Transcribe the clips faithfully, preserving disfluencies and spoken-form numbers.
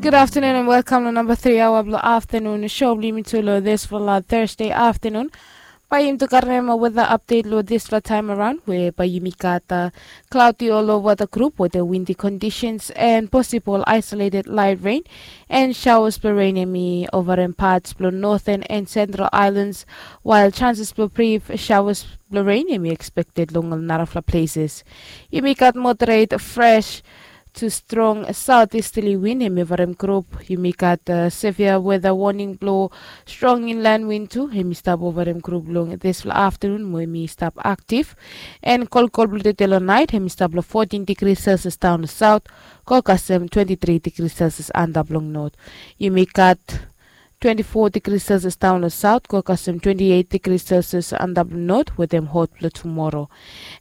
Gud aftenun and welkam long namba tri aoa blong aftenun sho blong yumi tu long disfala Thursday aftenun. Bae yumi tu karem weta apdet long disfala taem araon we bae yumi gat klaudi olova da grup wetem windi kondisens and posibol aesoleted lait ren and shaoas blong ren hem i ovarem pats blong noten and sentral aelans, wael sanses blong brif shaoas blong ren hem i ekspekted long ol narafala pleses. Yumi gat moderet fres tu strong saot istali win hem i ovarem grup. Yumi gat sevia weta woning blong strong inlan win tu hem i stap ovarem grup long disfala aftenun mo hem i stap aktif. And kolkol blong tede long naet hem i stap long fotin digri selsias daon long saot go kasem twenti tri digri selsias antap long not. Yumi gat twenti fo digri selsias daon long saot go kasem twenti eit digri selsias antap long not wetem hot blong tumoro.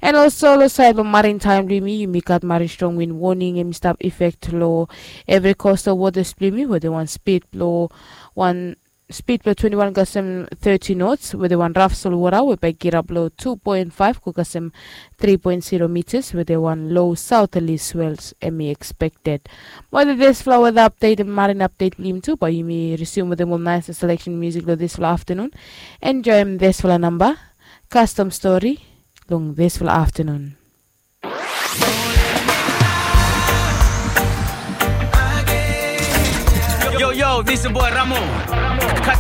And olso long saed blong marin taem blong yumi yumi gat marin strong win woning hem i stap ifek long evri kostal wotas blong yumi wetem wan spid blong wan spid blong twenti wan kasem teti nots wetem wan raf solwota we bae i kirap long tu poen faef go kasem tri poen siro mitas wetem wan lo saotalis wels hem i ekspekted. Mo wetem disfala weta apdet and marin apdet blong yumi tu bae yumi risium wetem ol naes seleksen musik long disfala aftenun. Enjoem disfala namba kastom stori long disfala aftenun. Yo, yo, this your boy Ramo. Cut